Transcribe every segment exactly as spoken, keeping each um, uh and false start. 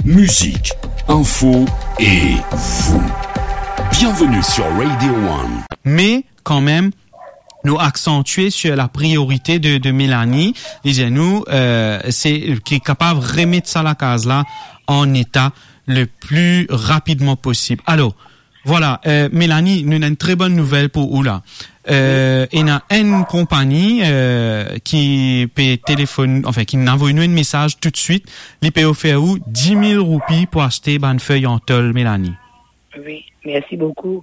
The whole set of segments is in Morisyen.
Musique, info et vous. Bienvenue sur Radio One. Me kanmem, nou aksantie sur la priorite de, de Melanie, dizon nou, euh, se ki kapav remet sa lakaz la an eta le pli rapidman posib. Alor, vwala, euh, Melanie, nou ena enn tre bonn nouvel pou ou la. Euh, ena enn konpagni, euh, ki pe telefonn, anfin, ki inn avoy nou enn mesaz toutswit, li pe ofer ou dix mil roupi pou aste bann fey an tol, Melanie. Wi, mersi boukou.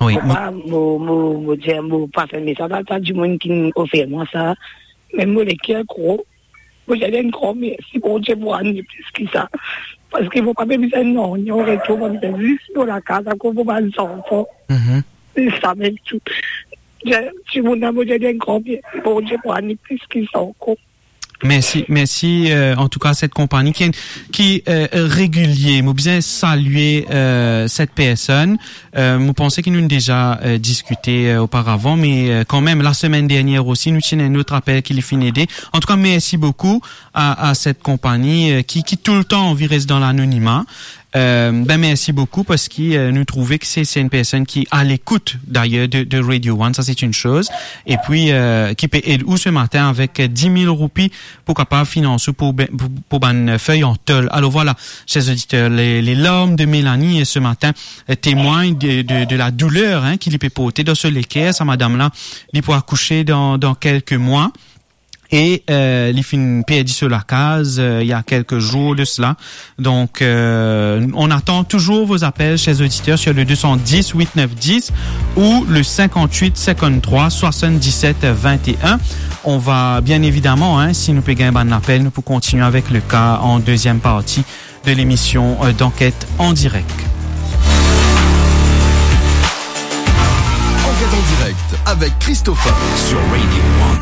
Wi, mo pa, mo, mo, mo dir, mo pa fer mesaz a sa dimoun ki ofer mwa sa, me mo leker gro, mo dir enn gran mersi Bondie pou ane plis ki sa. Parski mo pa pe bizin nanye an retour, mo bizin zis mo lakaz, akoz mo bann zanfan. Mhm. Se sa mem tou. Dir, dimoun la, mo dir enn gran mersi Bondie pou ane plis ki sa ankor. Mersi, mersi, euh, an tou ka, set konpagni ki, ki, euh, regilie. Mo bizin salie, euh, set personn. Euh, mo panse ki nou'nn deza, euh, diskite, euh, oparavan, me, euh, kanmem, lasemenn dernier osi, nou ti ena enn lot apel ki li finn ede. An tou ka, mersi boukou a, a set konpagni, euh, ki, ki toultan anvi res dan lanonima. Euh, ben, mersi boukou parski, euh, nou trouve ki se, se enn personn ki a lekout, dayer, de, de Radio One, sa se enn soz. Epi, euh, ki pe ed ou se matin avek dix mil roupi pou kapav finans ou pou be-, pou, pou bann fey an tol. Alor vwala, ser oditer, le, le larm de Melanie, euh, se matin, euh, temwagn de, de, de la douler, hein, ki li pe porte dan so leker. Sa madam la, li pou akouse dan, dan kelke mwa. E, euh, li finn perdi so lakaz, euh, il y a quelques jours de cela. Donc, euh, on attend toujours vos appels, chers auditeurs, sur le deux cent dix, huit neuf dix ou le cinquante-huit cinquante-trois soixante-dix-sept vingt et un. On va, bien évidemment, hein, si nou pe gagn bann apel, nou pou kontinie avek le ka an deuxième partie de l'émission, euh, d'Enquête en direct. Enquête en direct avec Christopher sur Radio One.